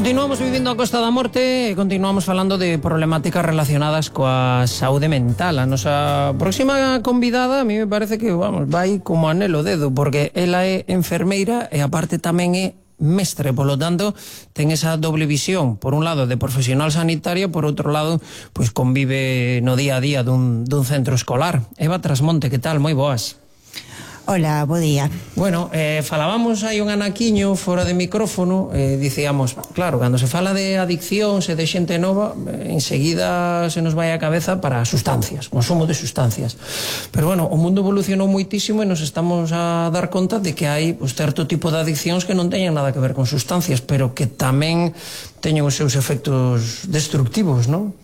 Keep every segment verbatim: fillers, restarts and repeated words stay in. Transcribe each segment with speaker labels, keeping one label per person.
Speaker 1: Continuamos vivindo a Costa da Morte e continuamos falando de problemáticas relacionadas coa saúde mental. A nosa próxima convidada a mí me parece que, vamos, vai como anelo dedo, porque ela é enfermeira e aparte tamén é mestre, polo tanto ten esa doble visión, por un lado de profesional sanitaria, por outro lado pois convive no día a día dun, dun centro escolar. Eva Trasmonte, que tal? Moi boas.
Speaker 2: Hola, bo día.
Speaker 1: Bueno, eh, falábamos hai un anaquiño fora de micrófono, eh, dicíamos, claro, cando se fala de adiccións e de xente nova, eh, enseguida se nos vai a cabeza para sustancias, consumo de sustancias. Pero bueno, o mundo evolucionou moitísimo e nos estamos a dar conta de que hai pues, certo tipo de adiccións que non teñen nada que ver con sustancias, pero que tamén teñen os seus efectos destructivos, non?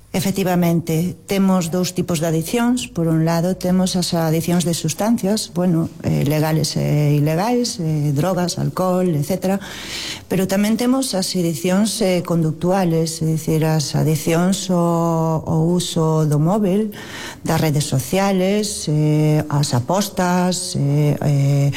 Speaker 2: Efectivamente, temos dous tipos de adiccións. Por un lado, temos as adiccións de sustancias, bueno, eh, legales e ilegais, eh, drogas, alcohol, etcétera. Pero tamén temos as adiccións eh, conductuales, é dicir, as adiccións ao, ao uso do móvil, das redes sociales, eh, as apostas, eh, eh,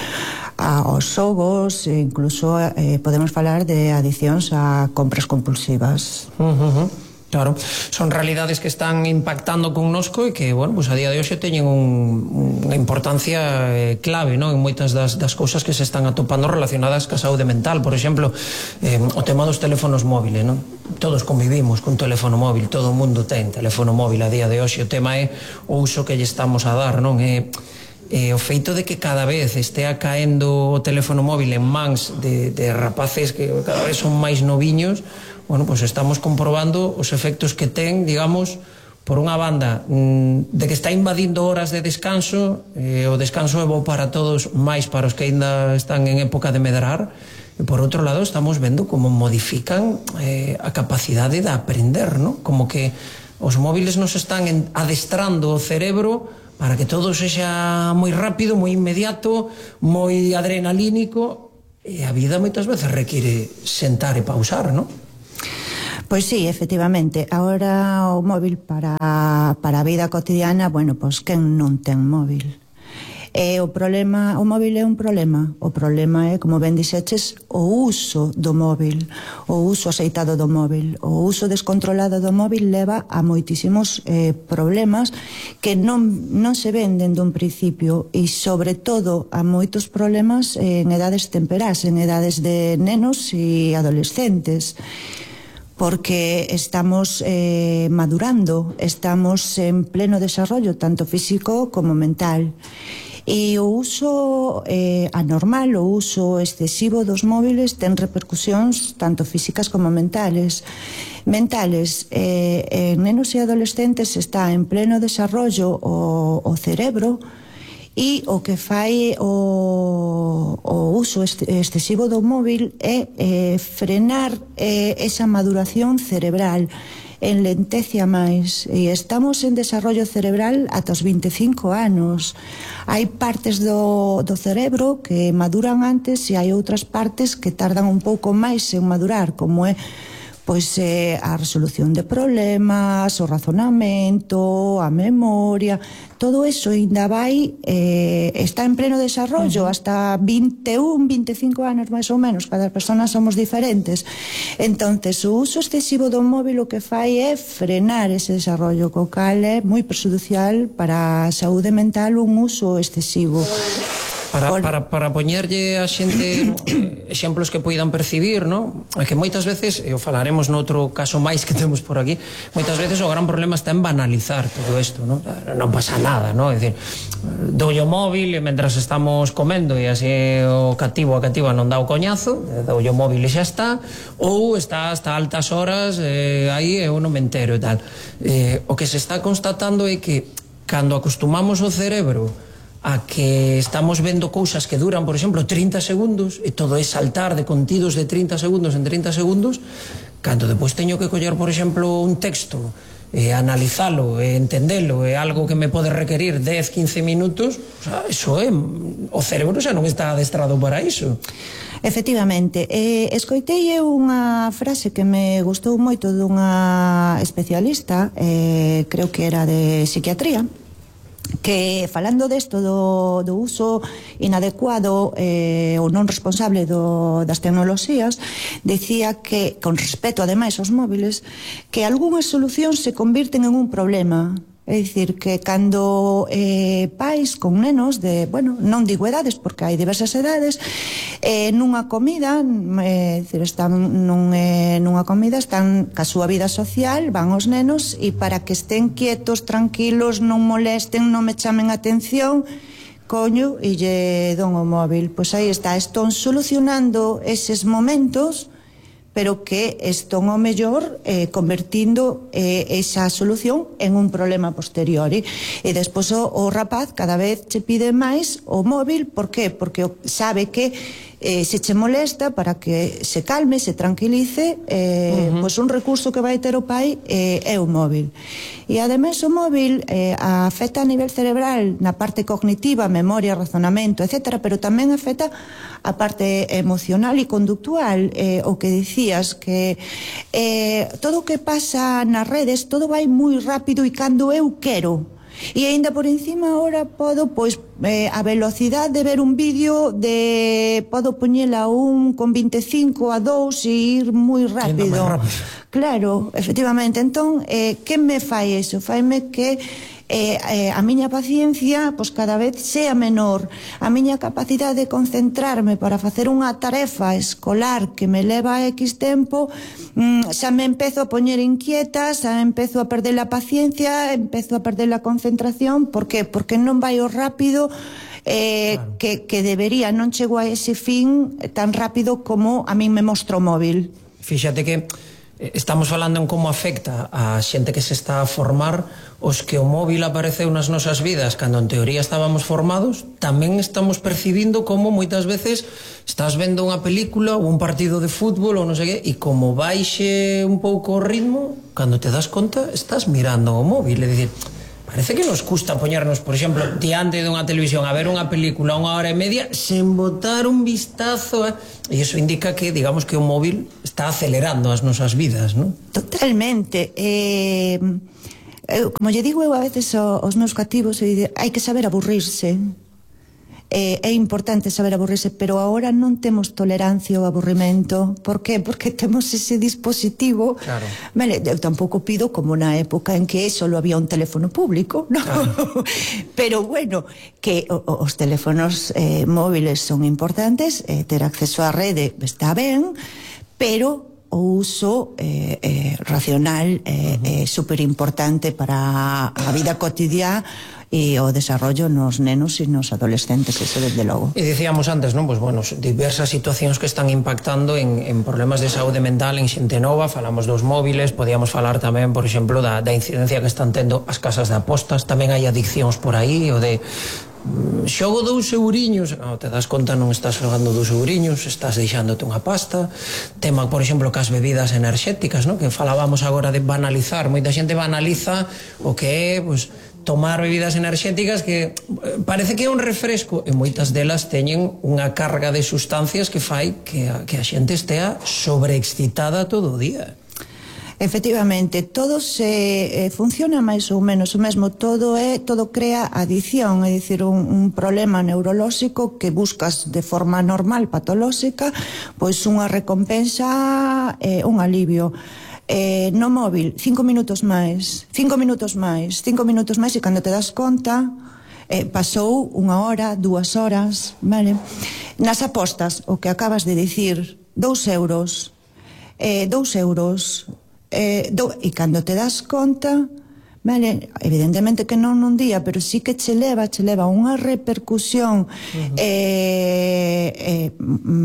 Speaker 2: aos xogos, e incluso eh, podemos falar de adiccións a compras compulsivas.
Speaker 1: Uh -huh. Claro, son realidades que están impactando connosco e que, bueno, pues a día de hoxe teñen un, unha importancia eh, clave, non? En moitas das, das cousas que se están atopando relacionadas ca saúde mental. Por exemplo, eh, o tema dos teléfonos móviles, non? Todos convivimos cun teléfono móvil, todo o mundo ten teléfono móvil a día de hoxe. O tema é o uso que lle estamos a dar, non? É Eh, o feito de que cada vez estea caendo o teléfono móvil en mans de, de rapaces que cada vez son máis noviños, bueno, pues estamos comprobando os efectos que ten, digamos, por unha banda, mmm, de que está invadindo horas de descanso, eh, o descanso é bo para todos, máis para os que ainda están en época de medrar, e por outro lado estamos vendo como modifican eh, a capacidade de aprender, ¿no? Como que os móviles nos están en, adestrando o cerebro para que todo sexa moi rápido, moi inmediato, moi adrenalínico, e a vida moitas veces require sentar e pausar, non?
Speaker 2: Pois sí, efectivamente. Agora o móvil para, para a vida cotidiana, bueno, pois quen non ten móvil? E o problema, o móvil é un problema. O problema é, como ben dixeches, o uso do móvil, o uso aceitado do móvil. O uso descontrolado do móvil leva a moitísimos eh, problemas que non, non se ven dende un principio, e sobre todo a moitos problemas en edades temperás, en edades de nenos e adolescentes, porque estamos eh, madurando, estamos en pleno desarrollo tanto físico como mental. E o uso eh, anormal, o uso excesivo dos móviles ten repercusións tanto físicas como mentales. Mentales, eh, en nenos e adolescentes está en pleno desarrollo o, o cerebro, e o que fai o, o uso excesivo do móvil é eh, frenar eh, esa maduración cerebral, enlentecia máis, e estamos en desarrollo cerebral ata os vinte e cinco anos. Hai partes do, do cerebro que maduran antes e hai outras partes que tardan un pouco máis en madurar, como é pois eh, a resolución de problemas, o razonamento, a memoria, todo eso ainda vai, eh, está en pleno desarrollo, uh -huh. hasta vinte e un, vinte e cinco anos máis ou menos, cada persona somos diferentes. Entonces, o uso excesivo do móvil o que fai é frenar ese desarrollo, co cal é moi perxudicial para a saúde mental un uso excesivo.
Speaker 1: Para, para, para poñerlle a xente exemplos que poidan percibir, non? É que moitas veces, e o falaremos noutro caso máis que temos por aquí, moitas veces o gran problema está en banalizar todo isto, non? Non pasa nada, non? É dicir, doulle o móvil e mentras estamos comendo e así o cativo a cativa non dá o coñazo, doulle o móvil e xa está, ou está hasta altas horas eh, aí e eu non me entero e tal. Eh, o que se está constatando é que cando acostumamos o cerebro a que estamos vendo cousas que duran, por exemplo, trinta segundos, e todo é saltar de contidos de trinta segundos en trinta segundos, cando depois teño que coller, por exemplo, un texto, e analizalo, e entendelo, é algo que me pode requerir dez, quince minutos, o sea, eso é, o cerebro xa non está adestrado para iso.
Speaker 2: Efectivamente, eh, escoitei unha frase que me gustou moito dunha especialista, eh, creo que era de psiquiatría, que falando desto do, do uso inadecuado eh, ou non responsable do, das tecnoloxías, decía que, con respecto ademais aos móviles, que algunhas solucións se convirten en un problema. É dicir, que cando eh, pais con nenos de, bueno, non digo edades, porque hai diversas edades, eh, nunha comida, eh, dicir, están nun, eh, nunha comida, están ca súa vida social, van os nenos, e para que estén quietos, tranquilos, non molesten, non me chamen atención, coño, e lle don o móvil. Pois aí está, estón solucionando eses momentos, pero que estón ao mellor eh, convertindo eh, esa solución en un problema posteriori. E despois o, o rapaz cada vez che pide máis o móvil. Por qué? Porque sabe que eh, se che molesta, para que se calme, se tranquilice, eh, uh-huh. pois un recurso que vai ter o pai eh, é o móvil. E ademais o móvil eh, afecta a nivel cerebral na parte cognitiva, memoria, razonamento, etcétera, pero tamén afecta a parte emocional e conductual, eh, o que dicías, que eh, todo o que pasa nas redes, todo vai moi rápido e cando eu quero. E aínda por encima ahora podo, pois, eh, a velocidade de ver un vídeo de, podo poñela a un con veinticinco a dous e ir moi rápido. Claro, efectivamente. Entón, eh, que me fai eso? Faime que Eh, eh, a miña paciencia pois cada vez sea menor, a miña capacidade de concentrarme para facer unha tarefa escolar que me leva X tempo, mm, xa me empezo a poñer inquieta, xa empezo a perder a paciencia, empezo a perder a concentración. Por que? Porque non vai o rápido eh, claro. que, que debería, non chego a ese fin tan rápido como a min me mostra o móvil.
Speaker 1: Fíxate que estamos falando en como afecta a xente que se está a formar. Os que o móvil apareceu nas nosas vidas cando en teoría estábamos formados, tamén estamos percibindo como moitas veces estás vendo unha película ou un partido de fútbol ou non sei que, e como baixe un pouco o ritmo, cando te das conta estás mirando o móvil. É dicir, parece que nos custa poñernos, por exemplo, diante dunha televisión a ver unha película unha hora e media sen botar un vistazo a... e iso indica que, digamos, que o móvil está acelerando as nosas vidas, non?
Speaker 2: Totalmente. Eh, eu, como lle digo eu a veces aos meus cativos, hai que saber aburrirse. Eh, é importante saber aburrirse, pero agora non temos tolerancia ao aburrimento. Por qué? Porque temos ese dispositivo. Claro. Vale, eu tampouco pido como na época en que só había un teléfono público, ¿no? Claro. Pero bueno, que o, os teléfonos eh, móviles son importantes, eh, ter acceso á rede está ben, pero o uso eh, eh, racional é eh, uh-huh. eh, super importante para a vida cotidiana e o desarrollo nos nenos e nos adolescentes, eso desde logo.
Speaker 1: E dicíamos antes, non? Pues, bueno, diversas situacións que están impactando en, en problemas de saúde mental en xente nova. Falamos dos móviles, podíamos falar tamén, por exemplo, da, da incidencia que están tendo as casas de apostas. Tamén hai adiccións por aí, o de xogo dous euriños, no, te das conta, non estás xogando dous euriños, estás deixándote unha pasta. Tema, por exemplo, cas bebidas enerxéticas, no? Que falábamos agora de banalizar. Moita xente banaliza o que é, pues, tomar bebidas enerxéticas, que parece que é un refresco, e moitas delas teñen unha carga de sustancias que fai que a, que a xente estea sobreexcitada todo o día.
Speaker 2: Efectivamente, todo se eh, funciona máis ou menos o mesmo, todo é, todo crea adicción, é dicir, un, un problema neurolóxico que buscas de forma normal, patolóxica, pois unha recompensa, eh, un alivio. Eh, no móvil, cinco minutos máis, cinco minutos máis, cinco minutos máis, e cando te das conta, eh, pasou unha hora, dúas horas, vale? Nas apostas, o que acabas de dicir, dous euros, eh, dous euros, eh, do, e cando te das conta, vale, evidentemente que non nun día, pero sí que che leva, che leva unha repercusión uh-huh. eh, eh,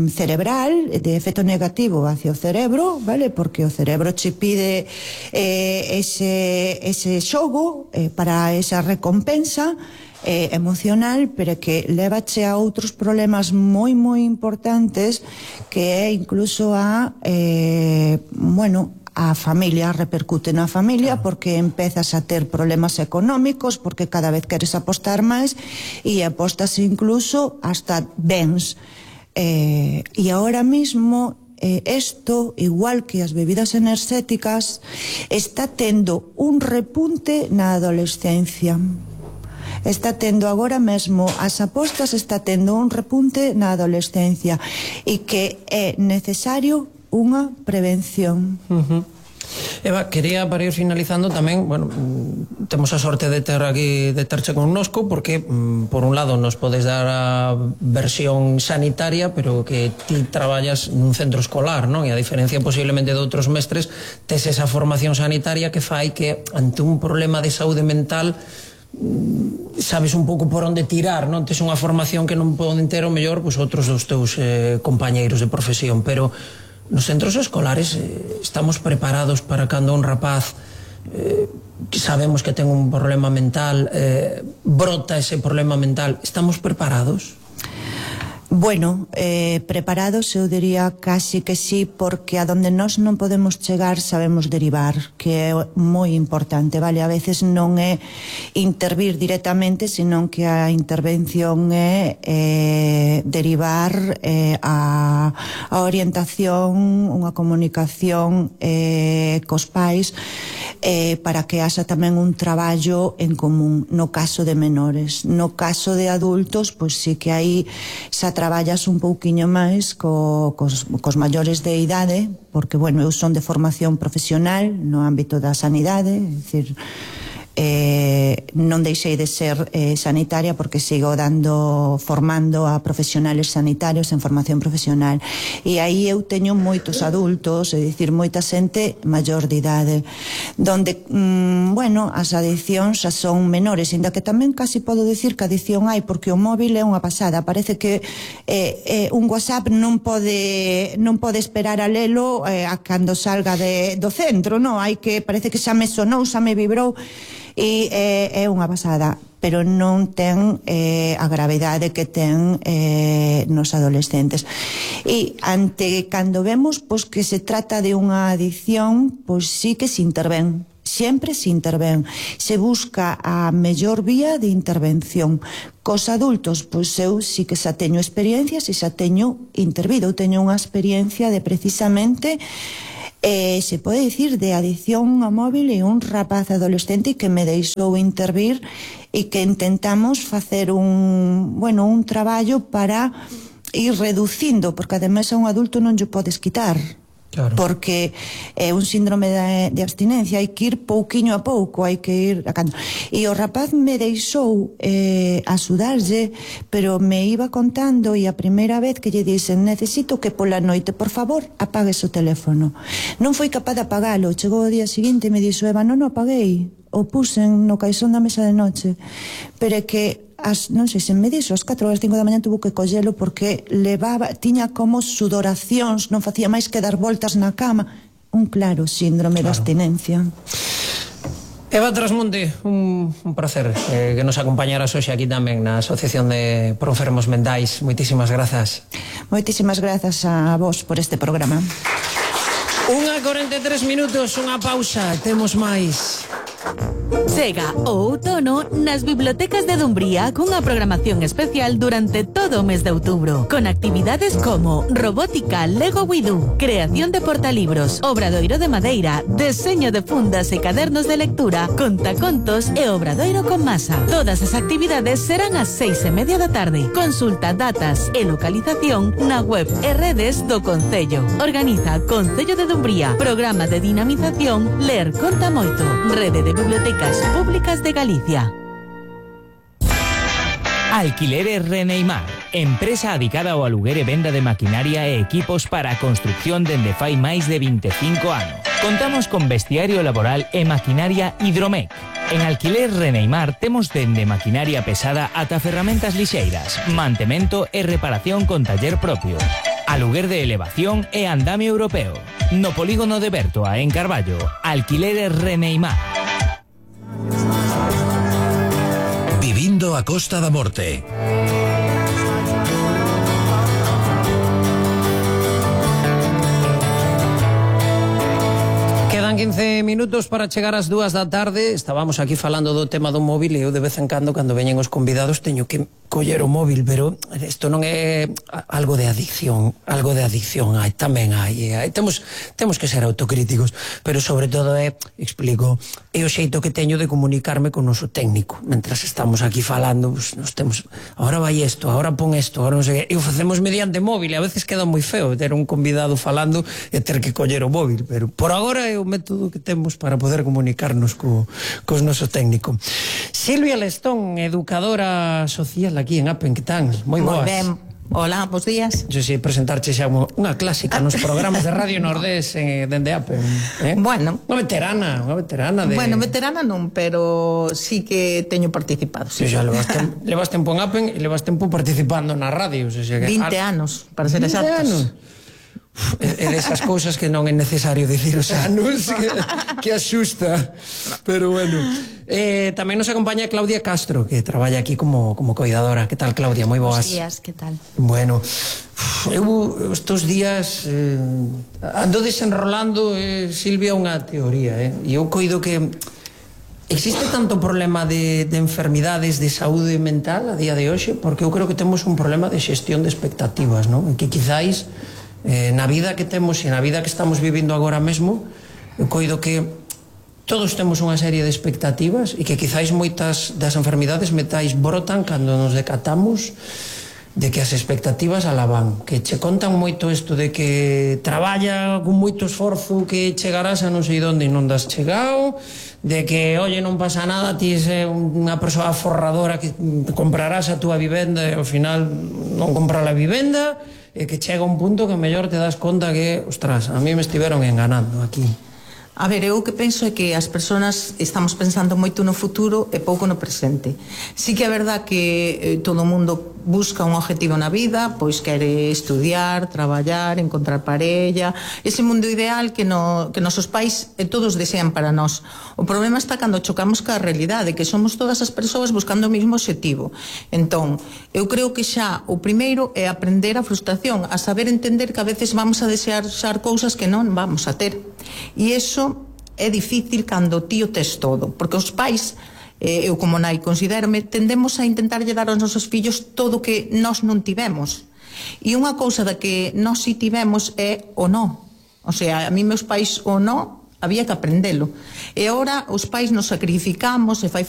Speaker 2: cerebral, de efecto negativo hacia o cerebro, vale, porque o cerebro che pide eh, ese, ese xogo eh, para esa recompensa eh, emocional, pero que levache a outros problemas moi moi importantes, que é incluso a eh, bueno, a familia, repercute na familia, porque empezas a ter problemas económicos, porque cada vez queres apostar máis, e apostas incluso hasta bens. Eh, e ahora mismo eh, esto, igual que as bebidas enerxéticas, está tendo un repunte na adolescencia. está tendo agora mesmo as apostas, está tendo un repunte na adolescencia e que é necesario unha prevención.
Speaker 1: Uh-huh. Eva, quería para ir finalizando tamén, bueno, temos a sorte de ter aquí, de terche connosco, porque por un lado nos podes dar a versión sanitaria, pero que ti traballas nun centro escolar, non? E a diferencia posiblemente de outros mestres, tes esa formación sanitaria que fai que ante un problema de saúde mental sabes un pouco por onde tirar, non? Tes unha formación que non poden ter o mellor pois outros dos teus eh, compañeiros de profesión, pero nos centros escolares eh, estamos preparados para cando un rapaz eh, que sabemos que ten un problema mental, eh, brota ese problema mental, estamos preparados?
Speaker 2: Bueno, eh, preparados eu diría casi que sí, porque a donde nós non podemos chegar sabemos derivar, que é moi importante, vale? A veces non é intervir directamente, senón que a intervención é eh, derivar eh, a, a orientación, unha comunicación eh, cos pais, eh, para que haxa tamén un traballo en común, no caso de menores. No caso de adultos, pois sí que aí xa traballas un pouquiño máis co, cos, cos maiores de idade, porque, bueno, eu son de formación profesional no ámbito da sanidade, é dicir, eh, non deixei de ser eh, sanitaria porque sigo dando, formando a profesionales sanitarios en formación profesional, e aí eu teño moitos adultos, é dicir, moita xente maior de idade, donde, mm, bueno, as adiccións xa son menores, ainda que tamén casi podo dicir que adicción hai, porque o móvil é unha pasada, parece que eh, eh, un WhatsApp non pode non pode esperar a lelo eh, a cando salga de, do centro, non? Hai que, parece que xa me sonou, xa me vibrou, e é, é unha pasada, pero non ten eh, a gravedade que ten eh, nos adolescentes. E ante cando vemos pois, que se trata de unha adicción, pois sí que se intervén, sempre se intervén, se busca a mellor vía de intervención. Cos adultos, pois eu sí que xa teño experiencias e xa teño intervido, eu teño unha experiencia de precisamente Eh, se pode dicir de adicción ao móvil e un rapaz adolescente que me deixou intervir e que intentamos facer un, bueno, un traballo para ir reducindo, porque ademais a un adulto non lle podes quitar. Claro. Porque é un síndrome de, de abstinencia, hai que ir pouquiño a pouco, hai que ir a cando. E o rapaz me deixou eh, axudarlle, pero me iba contando, e a primeira vez que lle dixen necesito que pola noite, por favor, apagues o teléfono. Non foi capaz de apagalo, chegou o día seguinte e me dixo, Eva, non o apaguei, o pusen no caixón da mesa de noche, pero é que as, non sei se me dixo, as catro ou as cinco da mañá tuvo que collelo porque levaba, tiña como sudoracións, non facía máis que dar voltas na cama, un claro síndrome claro. de abstinencia.
Speaker 1: Eva Trasmonte, un, un placer eh, que nos acompañaras hoxe aquí tamén na Asociación de Proenfermos Mentais. Moitísimas grazas.
Speaker 2: Moitísimas grazas a vos por este programa.
Speaker 1: Unha corenta e tres minutos, unha pausa, temos máis.
Speaker 3: Chega o outono nas bibliotecas de Dumbría cunha programación especial durante todo o mes de outubro, con actividades como robótica Lego Widú, creación de portalibros, obradoiro de madeira, deseño de fundas e cadernos de lectura, contacontos e obradoiro con masa. Todas as actividades serán ás seis e media da tarde. Consulta datas e localización na web e redes do Concello. Organiza Concello de Dumbría, programa de dinamización Ler Conta Moito, Rede de Bibliotecas Públicas de Galicia.
Speaker 4: Alquileres Reneimar, empresa adicada ao aluguer e venda de maquinaria e equipos para a construcción dende fai máis de vinte e cinco anos. Contamos con vestiario laboral e maquinaria Hidromec. En Alquiler Reneimar temos dende maquinaria pesada ata ferramentas lixeiras, mantemento e reparación con taller propio, aluguer de elevación e andamio europeo. No polígono de Bertoa, en Carballo, Alquileres Reneimar.
Speaker 5: Vivindo a Costa da Morte.
Speaker 1: Quedan Faltan quince minutos para chegar ás dúas da tarde. Estábamos aquí falando do tema do móvil e eu de vez en cando, cando veñen os convidados, teño que coller o móvil, pero isto non é algo de adicción, algo de adicción hai, tamén hai, hai. Temos, temos que ser autocríticos, pero sobre todo é, explico, é o xeito que teño de comunicarme con o noso técnico. Mentras estamos aquí falando, pues, nos temos, ahora vai isto, ahora pon isto, ahora non sei que, e o facemos mediante móvil, e a veces queda moi feo ter un convidado falando e ter que coller o móvil, pero por agora é o método que temos para poder comunicarnos co, cos noso técnico. Silvia Lestón, educadora social aquí en Apen, que tan? Moi boas.
Speaker 6: Moi ben. Hola, bons días.
Speaker 1: Yo sei presentarche xa unha clásica nos programas de Radio Nordés eh, dende Apen, eh?
Speaker 6: Bueno.
Speaker 1: Unha veterana, unha veterana de...
Speaker 6: Bueno, veterana non, pero sí que teño participado.
Speaker 1: Sí, xa levas tempo, levas tempo en Apen e levas tempo participando na radio, o sea, que...
Speaker 6: vinte anos, para ser exactos.
Speaker 1: É desas cousas que non é necesario dicir os anos, que, que asusta, pero bueno. Eh, tamén nos acompaña Claudia Castro, que traballa aquí como, como cuidadora. Que tal, Claudia? Moi boas.
Speaker 7: Bos días, que tal?
Speaker 1: Bueno, eu estos días eh, ando desenrolando, eh, Silvia, unha teoría, eh, e eu coido que existe tanto problema de, de enfermidades de saúde mental a día de hoxe, porque eu creo que temos un problema de xestión de expectativas, non? Que quizáis Eh, na vida que temos e na vida que estamos vivindo agora mesmo, eu coido que todos temos unha serie de expectativas e que quizáis moitas das enfermidades metais brotan cando nos decatamos de que as expectativas alaban, que che contan moito isto de que traballa con moito esforzo, que chegarás a non sei onde e non das chegado, de que, oye, non pasa nada, ti é unha persoa forradora que comprarás a túa vivenda e ao final non compra a vivenda, e que chega un punto que mellor te das conta que, ostras, a mí me estiveron enganando aquí.
Speaker 6: A ver, eu o que penso é que as persoas estamos pensando moito no futuro e pouco no presente. Sí que é verdad que eh, todo o mundo busca un objetivo na vida, pois quere estudiar, traballar, encontrar parella, ese mundo ideal que, no, que nosos pais e todos desean para nós. O problema está cando chocamos ca realidade, que somos todas as persoas buscando o mesmo objetivo. Entón, eu creo que xa o primeiro é aprender a frustración, a saber entender que a veces vamos a desear xar cousas que non vamos a ter. E iso é difícil cando ti o tes todo, porque os pais, eh, eu como nai considérome, tendemos a intentarlle dar aos nosos fillos todo o que nós non tivemos. E unha cousa da que nós si tivemos é o no. O sea, a mí meus pais o no había que aprendelo. E agora os pais nos sacrificamos e fai